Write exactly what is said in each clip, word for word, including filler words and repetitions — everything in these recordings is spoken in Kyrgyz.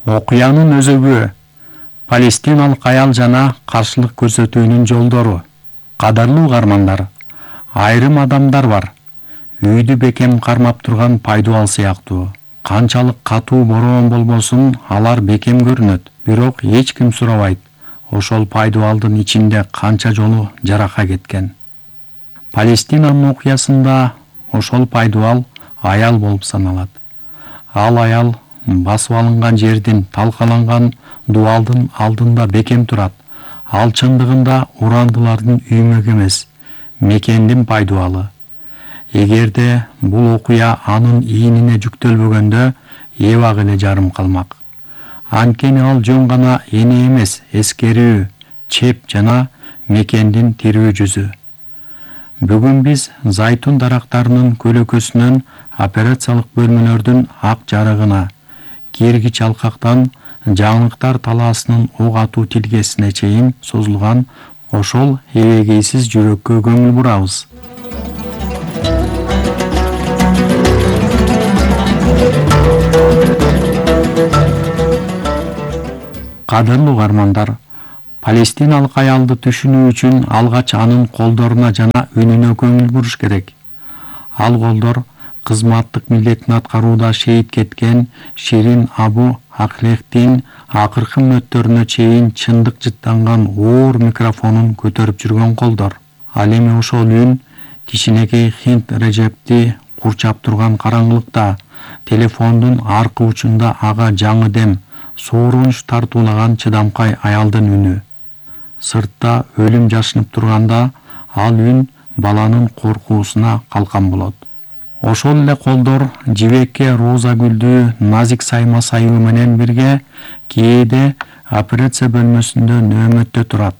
Окуянын өзөгү Палестиналык аял жана каршылык көрсөтүүнүн жолдору. Кадарлуу угармандар, айрым адамдар бар. Үйдү бекем кармап турган пайдубал сыяктуу. Канчалык катуу бороон болбосун, алар бекем көрүнөт, бирок эч ким сурабайт. Ошол пайдубалдын ичинде канча жолу жарака кеткен. Палестинанын окуясында ошол пайдубал аял болуп саналат. Ал аял басып алынган жердин талкаланган дубалдын алдында бекем турат. Ал чындыгында урандылардын үймөк эмес, мекендин пайдубалы. Эгерде бул окуя анын ийнине жүктөлбөгөндө, эбак эле жарым калмак. Анткени ал жөн гана эне эмес, эскерүү, чеп жана мекендин тирүү жүзү. Бүгүн биз зайтун дарактарынын көлөкөсүнөн операциялык бөлмөлөрдүн ак жарыгына, киргич алкактан жаңылыктар талаасынын ок атуу тилкесине чейин созулган ошол эбегейсиз жүрөккө көңүл бурабыз. Кадырлуу угармандар, палестиналык аялды түшүнүү үчүн алгач анын колдоруна жана үнүнө көңүл буруш керек. Ал колдор кызматтык милдетин аткарууда шейит кеткен Ширин Абу Аклехтин акыркы мүнөттөрүнө чейин чындык жыттанган оор микрофонун көтөрүп жүргөн колдор. Ал эми ошол үн кичинекей Хинт Режепти курчап турган караңгылыкта, телефондун аркы учунда ага жаңы дем, сооронуч тартуулаган чыдамкай аялдын үнү. Сыртта өлүм жашынып турганда, ал үн баланын коркуусуна калкан болот. Ошол эле колдор жибекке роза гүлдүү назик сайма сайуу менен бирге кээде операция бөлмөсүндө нөөмөттө турат.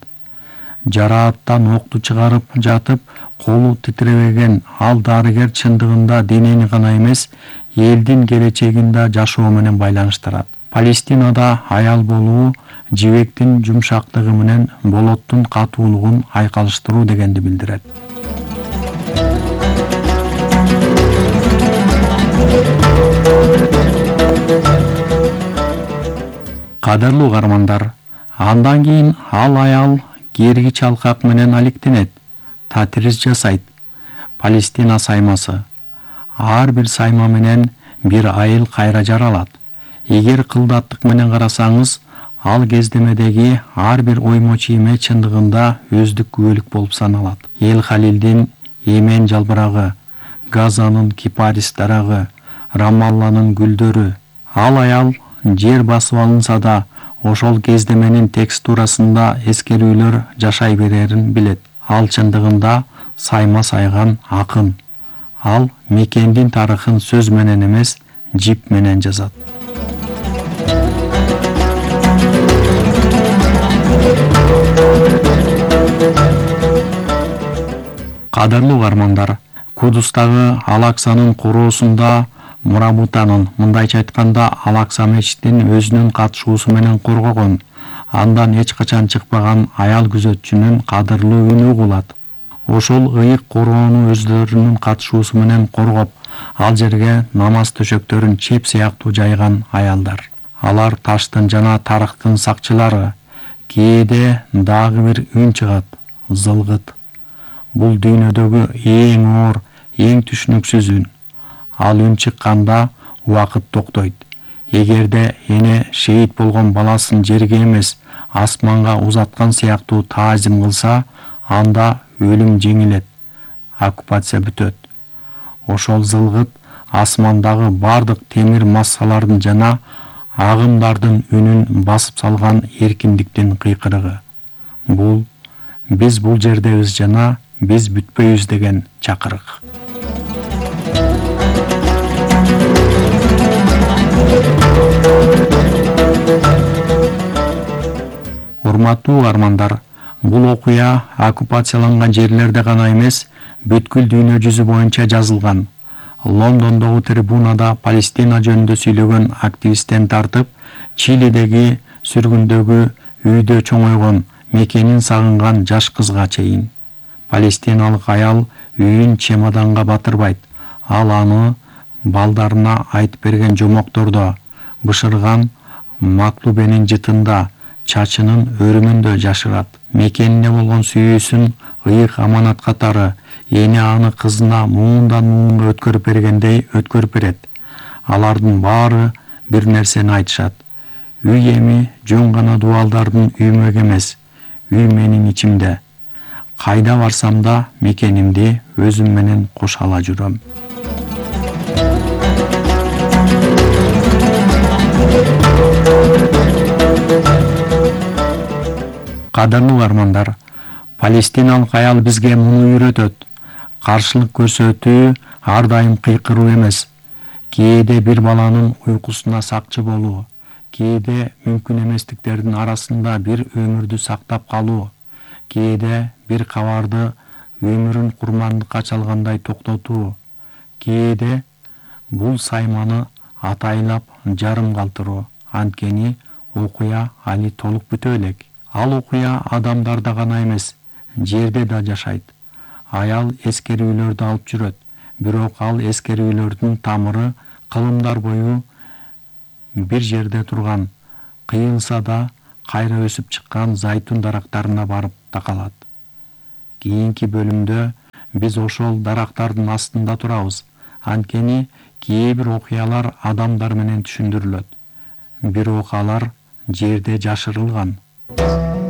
Жарааттан окту чыгарып жатып, колу титиребеген ал дарыгер чындыгында денени гана эмес, элдин келечегин да жашоо менен байланыштырат. Палестинада аял болуу жибектин жумшактыгы менен болоттун катуулугун айкалыштыруу дегенди билдирет. Кадырлуу угармандар, андан кийин ал аял киргич алкак менен алектенет, татирис жасайт. Палестина саймасы. Ар бир сайма менен бир айыл кайра жаралат. Эгер кылдаттык менен карасаңыз, ал кездемедеги ар бир оймо чийме чындыгында өздүк күбөлүк болуп саналат. Эл Халилдин Эмен жалбырагы, Газанын кипарис дарагы, Рамалланын гүлдөрү. Ал аял жер басып алынса да, ошол кездеменин текстурасында эскерүүлөр жашай берерин билет. Ал чындыгында сайма сайган акын. Ал мекендин тарыхын сөз менен эмес, жип менен жазат. Кадырлуу угармандар, Кудустагы Ал-Аксанын короосунда Мурабутанын, мындайча айтканда Ал-Акса мечитин өзүнүн катышуусу менен коргогон, андан эч качан чыкпаган аял күзөтчүнүн кадырлуу үнү угулат. Ошол ыйык короону өздөрүнүн катышуусу менен коргоп, ал жерге намаз төшөктөрүн чеп сыяктуу жайган аялдар. Алар таштын жана тарыхтын сакчылары. Кээде дагы бир үн чыгат, зылгыт. Бул дүйнөдөгү эң оор, эң түшүнүксүз үн. Ал үн чыкканда убакыт токтойт. Эгерде эне шейит болгон баласын жерге эмес, асманга узаткан сыяктуу таазим кылса, анда өлүм жеңилет, оккупация бүтөт. Ошол зылгыт асмандагы бардык темир массалардын жана агымдардын үнүн басып салган эркиндиктин кыйкырыгы. Бул биз бул жердебиз жана биз бүтпөйбүз деген чакырык. Урматтуу угармандар, бул окуя оккупацияланган жерлерде гана эмес, бүткүл дүйнө жүзү боюнча жазылган. Лондондогу трибунада Палестина жөнүндө сүйлөгөн активисттен тартып, Чилидеги сүргүндөгү үйдө чоңойгон, мекенин сагынган жаш кызга чейин. Палестиналык аял үйүн чемоданга батырбайт. Ал аны балдарына айтып берген жомоктордо, бышырган Маклубенин жытында, чачынын өрүмүндө жашырат. Мекенине болгон сүйүүсүн ыйык аманат катары эне аны кызына муундан муунга өткөрүп бергендей өткөрүп берет. Алардын баары бир нерсени айтышат. Үй эми жөн гана дубалдардын үймөк эмес, үй менин ичимде. Кайда барсам да мекенимди өзүм менен кошо ала жүрөм. Кадырлуу угармандар, палестиналык аял бизге муну үйрөтөт. Каршылык көрсөтүү ар дайым кыйкыруу эмес. Кээде бир баланын уйкусуна сакчы болуу, кээде мүмкүн эместиктердин арасында бир өмүрдү сактап калуу, кээде бир кабарды өмүрүн курмандыкка чалгандай токтотуу, кээде бул сайманы атайлап жарым калтыруу. Анткени окуя али толук бүтө элек. Ал окуя адамдарда гана эмес, жерде да жашайт. Аял эскерүүлөрдү алып жүрөт, бирок ал эскерүүлөрдүн тамыры кылымдар бою бир жерде турган, кыйылса да кайра өсүп чыккан зайтун дарактарына барып такалат. Кийинки бөлүмдө биз ошол дарактардын астында турабыз. Анткени кээ бир окуялар адамдар менен түшүндүрүлөт, бирок алар жерде жашырылган.